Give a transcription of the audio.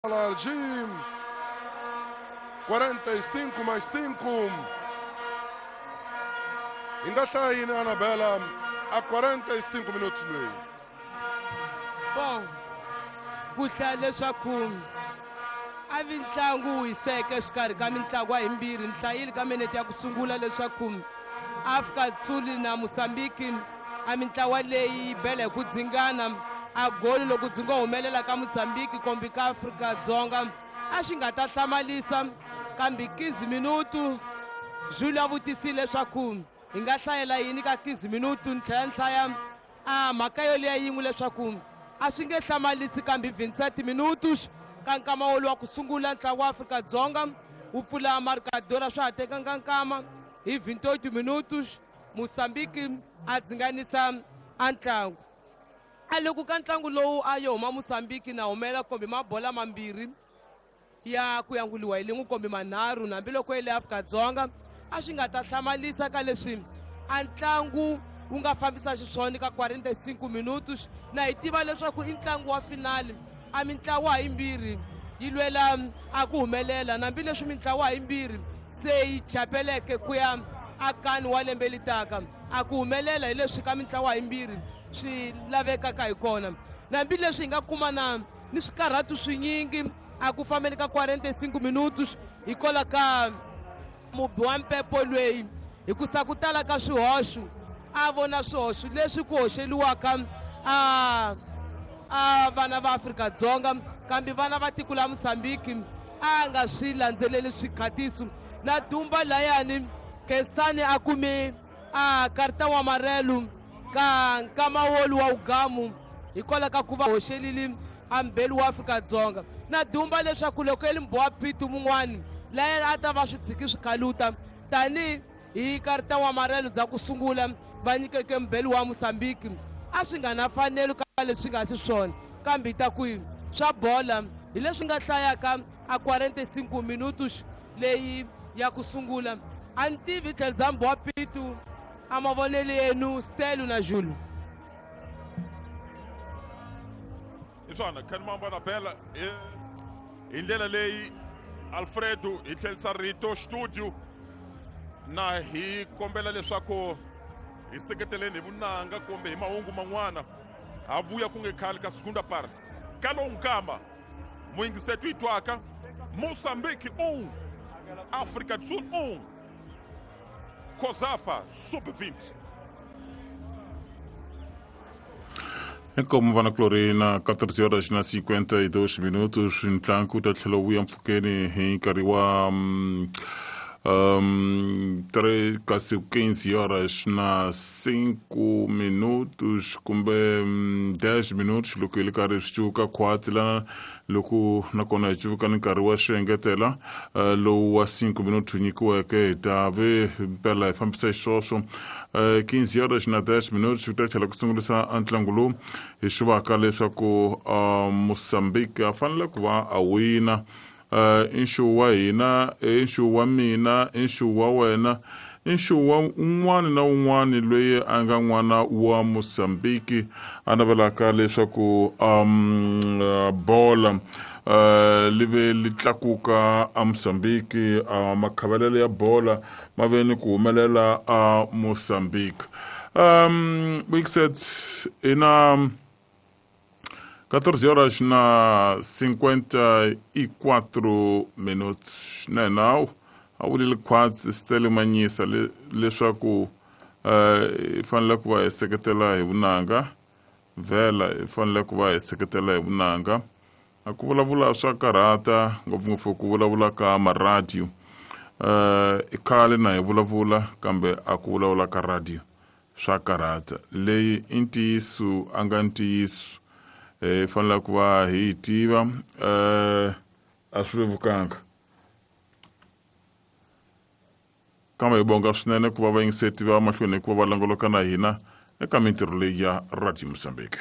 Falar de 45 mais 5. Hi nga hlaya yini Anabela a 45 minutos leyi? Bom, ku hlaya leswaku a vi ntlangu wu hiseke exikarhi ka mintlangu yimbirhi. Ni hlayile ka minete ya ku sungula leswaku Afrika Tsuli na Mozambique a mintlawa leyi yi bela hi ku dzingana a goli loko byi ngo humelela ka Mozambique kombi ka Afrika Dzonga a swi nga ta hlamalisa, kambe 15 minutu Jules a vutisile leswaku hi nga hlayela yini ka 15 minutu. Ni tlhela ni hlaya a mhaka yoleya yin'we leswaku a swi nge hlamalisi, kambe 27 minutos ka nkama woluwa ku sungula ntlangu wa Afrika Dzonga wu pfula marcador a swa ha tekanga nkama hi 28 minutos Mozambique a dzinganisa a ntlangu. A loko ka ntlangu lowu a yo huma Mozambique na humela kombi mabola mambirhi ya ku yanguliwa hi lin'we kombi manharhu, hambiloko yi le Afrika-Dzonga a swi nga ta hlamalisa ka leswi a ntlangu wu nga fambisa xiswona ka 45 minutos. Na hi tiva leswaku i ntlangu wa finali, a mintlawa yimbirhi yi lwela a ku humelela, hambileswi mintlawa yimbirhi se yi chapeleke ku ya akani wa lembe litaka a ku humelela hi leswi ka mintlawa yimbirhi swi lavekaka hi kona. Hambileswi hi nga kuma na ni swikarhatu swinyingi a ku fambeni ka 45 minutos hikwalaho ka mubi wa mpepo lweyi, hikusa ku tala ka swihoxo a vona swihoxo leswi ku hoxeliwaka a vana va Afrika-Dzonga, kambe vana va tiko la Mozambique a nga swi landzeleli swikhatiso. Na dumba layani Kestani a kume a karta wa marelu ka nkama wolu wa ugamu hikwalaho ka ku va hoxelile a mbeli wa Afrika-Dzonga. Na dumba leswaku loko eli mbowa pitu mun'wani layani a ta va swi tshiki swi khaluta tani hi karta wa marelu bya ku sungula va nyikeke mbeli wa Mozambique, a swi nga na fanelo ka leswi nga xiswona, kambe ta ku swa bola hi leswi nga hlayaka a 45 minutos leyi ya ku sungula. A ni tivi tlhelo bya mbowa pitu a mavonelo yenu Stelu na Jules. Hi swona Khanimamba na Bela hi ndlela leyi Alfredo hi tlherisa rito studio na hi kombela leswaku hi seketeleni hi vunanga kumbe hi mahungu man'wana ha vuya ku nge khale ka segunda parte ka lowu nkama muyingiseto yi twaka Mozambique 1 Afrika do Sul 1 COSAFA Sub-20. Inkomu vana kulori na 14 horas na 52 minutos ntlangu ta tlhela wu ya mpfhukeni hi nkarhi wa 3 kasi 15 horas na 5 minutos kumbe 10 minutos loko hi ri karhi swi cuvuka khwatsi lana loko nakona hi cuvuka ni nkarhi wa swi engetela lowu wa 5 minutos nyikiweke hi ta ve mpela hi fambisa xiswoswo 15 horas na 10 minutos ku ta tlhela ku sungurisa ntlangu lowu hi swi vaka leswaku Mozambique a fanele ku va a wina. I nxuwu wa hina, i nxuwu wa mina, i nxuwu wa wena, i nxuwu wa un'wana na un'wana loyi a nga n'wana wa Mozambique a navelaka leswaku bola li ve li tlakuka a Mozambique, makhavelelo ya bola ma ve ni ku humelela a Mozambique. Wixet ina 14 horas na 54 minutos na hina a vulile khwatsi Stele Manyisa leswaku hi fanele ku va hi seketela hi vunanga, vhela hi fanele ku va hi seketela hi vunanga. A ku vulavula swa karhata ngopfungopfu ku vulavula ka maradiyo, i khale na hi vulavula kambe a ku vulavula ka radio swa karhata. Leyi i ntiyiso a nga ntiyiso hi fanele ku va hi yi tiva, a swi vevukanga, kambe hi bonga swinene ku va vayingiseti va mahlweni hi ku va va longoloka na hina eka mintirho leyi ya Radio Mozambique.